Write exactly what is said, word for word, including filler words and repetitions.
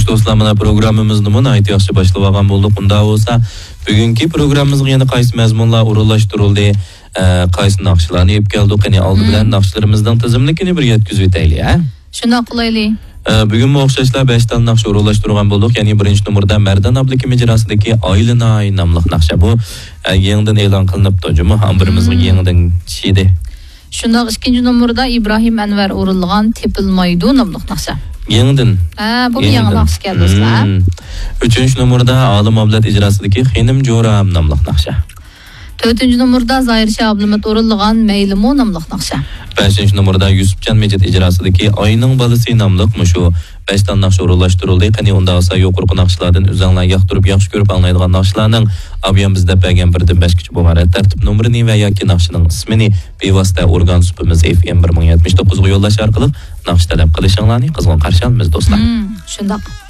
دوستلار، مانا پروگراممىمىزنىمۇ ناھايىتى ياخشى باشلىۋالغان بولدۇق. ئۇنداق بولسا، بۈگۈنكى پروگراممىمىزغا يەنە قايسى مەزمۇنلار ئورۇنلاشتۇرۇلدى؟ ئە، قايسى ناخشىلارنى ئېلىپ كەلدۇق؟ قېنى، ئالدى بىلەن ناخشىلىرىمىزنىڭ تىزىملىكىنى بىر يەتكۈزۈۋېتەيلى، ھە؟ شۇنداق قىلايلى. ئە، بۈگۈنمۇ ئوخشاشلا بەش تال ناخشا ئورۇنلاشتۇرغان بولدۇق. يەنى بىرىنچى نومۇردا مەردان ئابلىكىم ئىجراسىدىكى ئايلىناي ناملىق ناخشا. بۇ، ئە، يېڭىدىن ئېلان قىلىنىپتۇ، جۇمۇ ئامبىرىمىزغا يېڭىدىن چىقتى. شۇنداق، ئىككىنچى نومۇردا ئىبراھىم ئەنۋەر ئورۇنلىغان تېپىلمايدۇ ناملىق ناخشا. يېڭىدىن. ھە، بۇ يېڭى ناخشا ئىكەن، دوستلار. ئۈچىنچى نومۇردا ئالىم ئابلەت ئىجراسىدىكى خېنىم جورام ناملىق ناخشا. تۆتىنچى نومۇردا زاھىر شاھ ئابلىمىت ئورۇنلىغان مەيلىمۇ ناملىق ناخشا. بەشىنچى نومۇردا يۈسۈپجان مىجىت ئىجراسىدىكى ئاينىڭ بالىسى ناملىق مۇشۇ بەش تال ناخشا ئورۇنلاشتۇرۇلدى. قېنى، ئۇنداق بولسا يۇقىرىقى ناخشىلاردىن ئۆزۈڭلار ياقتۇرۇپ، ياخشى كۆرۈپ ئاڭلايدىغان ناخشىلارنىڭ ئابىيام بىز دەپ بەرگەن بىردىن بەشكىچە بولغان رەت تەرتىپ نومۇرىنى ۋە ياكى ناخشىنىڭ ئىسمىنى بىۋاسىتە ئورگان سۇپىمىز ئېف ئېم بىر مىڭ يەتمىش توققۇزغا يوللاش ئارقىلىق ناخشا تەلەپ قىلىشىڭلارنى قىزغىن قارشى ئالىمىز، دوستلار. شۇنداق.